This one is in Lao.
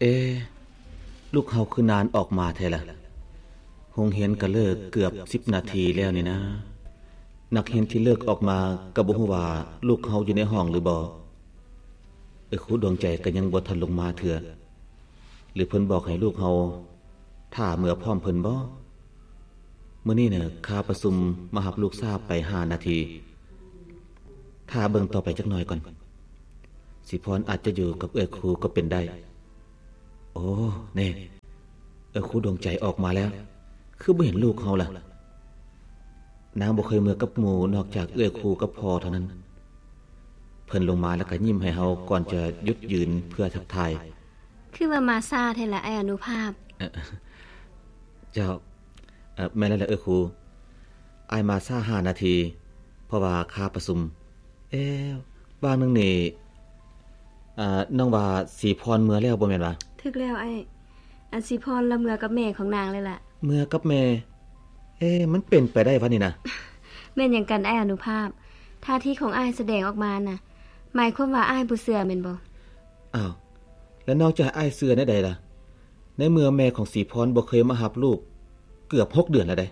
ເອ ລູກເຮົາຄືນານອອກມາແທ້ລະ? ໂຮງຮຽນກໍເລີກເກືອບສິບນາທີແລ້ວນີ້ນາ. ນັກຮຽນທີ່ເລີກອອກມາກໍບໍ່ຮູ້ວ່າລູກເຮົາຢູ່ໃນຫ້ອງຫຼືບໍ່. ເອື້ອຍຄູດວງໃຈກໍຍັງບໍ່ທັນລົງມາເທື່ອ. ຫຼືເພິ່ນບອກໃຫ້ລູກເຮົາຖ້າເມືອພ້ອມເພິ່ນບໍ? ມື້ນີ້ນະ ຄາປະຊຸມມາຮັບລູກຊ້າໄປຫ້ານາທີ. ຖ້າເບິ່ງຕໍ່ໄປຈັກໜ່ອຍກ່ອນ. ສີພອນອາດຈະຢູ່ກັບເອື້ອຍຄູກໍເປັນໄດ້. ໂອ້ ແນ່ ເອື້ອຍຄູດວງໃຈອອກມາແລ້ວ. ຄືບໍ່ເຫັນລູກເຮົາລະ? ນາງບໍ່ເຄີຍເມືອກັບໝູ່ນອກຈາກເອື້ອຍຄູກັບພໍ່ເທົ່ານັ້ນ. ເພິ່ນລົງມາແລ້ວກໍຍິ້ມໃຫ້ເຮົາກ່ອນຈະຢຸດຢືນເພື່ອທັກທາຍ. ຄືວ່າມາຊ້າແທ້ລະ ອ້າຍອະນຸພາບ? ເຈົ້າ, ແມ່ນແລ້ວລະເອື້ອຍຄູ. ອ້າຍມາຊ້າຫ້ານາທີ ເພາະວ່າຄາປະຊຸມ. ເອ ວ່າງໜຶ່ງນີ້ ນ້ອງວ່າສີພອນເມືອແລ້ວບໍ່ແມ່ນຫວາ? ຖືກແລ້ວອ້າຍ. ອັນສີພອນລະເມືອກັບແມ່ຂອງນາງແລ້ວລະ. ເມືອກັບແມ່? ເອ ມັນເປັນໄປໄດ້ຫວານີ້ນະ? ແມ່ນຫຍັງກັນອ້າຍອະນຸພາບ? ທ່າທີຂອງອ້າຍສະແດງອອກມານະ ໝາຍຄວາມວ່າອ້າຍບໍ່ເຊື່ອແມ່ນບໍ່? ອ້າວ ແລ້ວນ້ອງຈະໃຫ້ອ້າຍເຊື່ອແນວໃດລະ? ໃນເມື່ອແມ່ຂອງສີພອນບໍ່ເຄີຍມາຮັບລູກເກືອບຫົກເດືອນແລ້ວເດ້.